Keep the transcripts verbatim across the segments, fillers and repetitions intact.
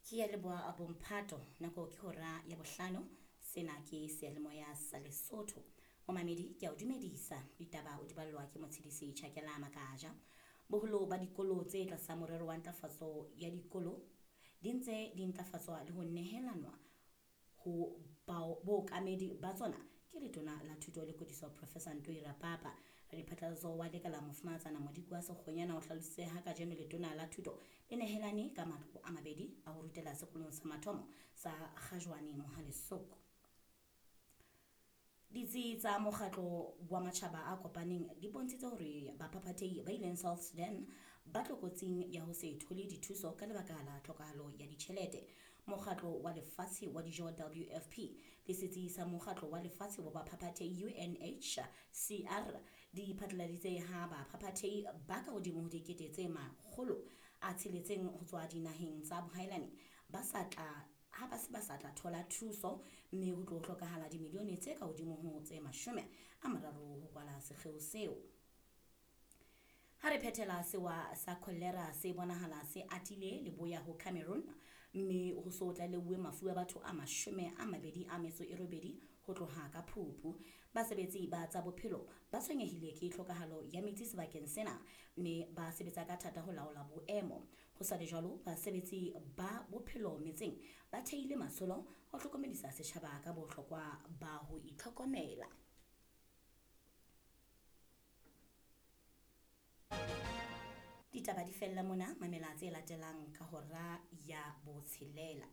Ke ya leboha bomphato, nako ke hora ya bohlano. Sena ke seyalemoya sa Lesotho. Momamedi, ke a o dumedisa. Ditaba o di ballwa ke Motshedisi Tjhakela Makaja. Boholo ba dikolo tse tlasa morero wa ntlafatso ya dikolo di ntse di ntlafatswa le ho nehelanwa ho bookamedi ba tsona ke letona la thuto le kwetliso Professor Ntoi Rapapa. Radiphatlalatso wa lekala Mofumahatsana Modikwa Sekgonyana o hlalositse ha kajeno letona la thuto le nehelane ka matlo a mabedi a ho rutela sekolong sa mathomo sa Kgajwane Mohale'shoek. Ditsi tsa mokgatlo wa matjhaba a kopaneng di bontshitse hore baphaphathehi ba ileng South Sudan ba tlokotsing ya ho se thole dithuso ka lebaka la tlhokahalo ya ditjhelete. Mokgatlo wa Lefatshe wa Dijo W F P le setsi sa Mokgatlo wa Lefatshe wa Baphaphathehi U N H C R di phatlaladitse ha baphaphathehi ba ka hodimo ho dikete tse makgolo a tsheletseng ho tswa dinaheng tsa bohaelani ba sa tla ha ba se ba sa tla thola thuso, mme ho tlo hlokahala dimilione tse ka hodimo ho tse mashome a mararo ho kwala sekgeo seo. Ha re phethela, sewa sa kholera se bonahala se atile leboya ho Cameroon, mme ho so tlaleuwe mafu a batho a mashome a mabedi a metso e robedi ho tloha ka Phupu. Basebetsi ba tsa bophelo ba tshwenyehile ke tlhokahalo ya metsi sebakeng sena, mme ba sebetsa ka thata ho laola boemo. Ho sa le jwalo, basebetsi ba bophelo metseng ba theile matsholo ho hlokomedisa setjhaba ka bohlokwa ba ho itlhokomela. Ditaba di fella mona, mamela tse latelang ka hora ya botshelela.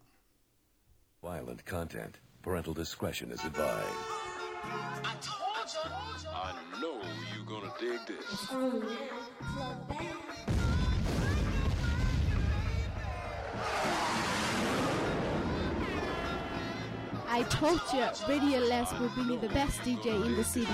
Violent content. Parental discretion is advised. I told you. I know you're gonna dig this. I told you, Radio Les will be the best D J in the city.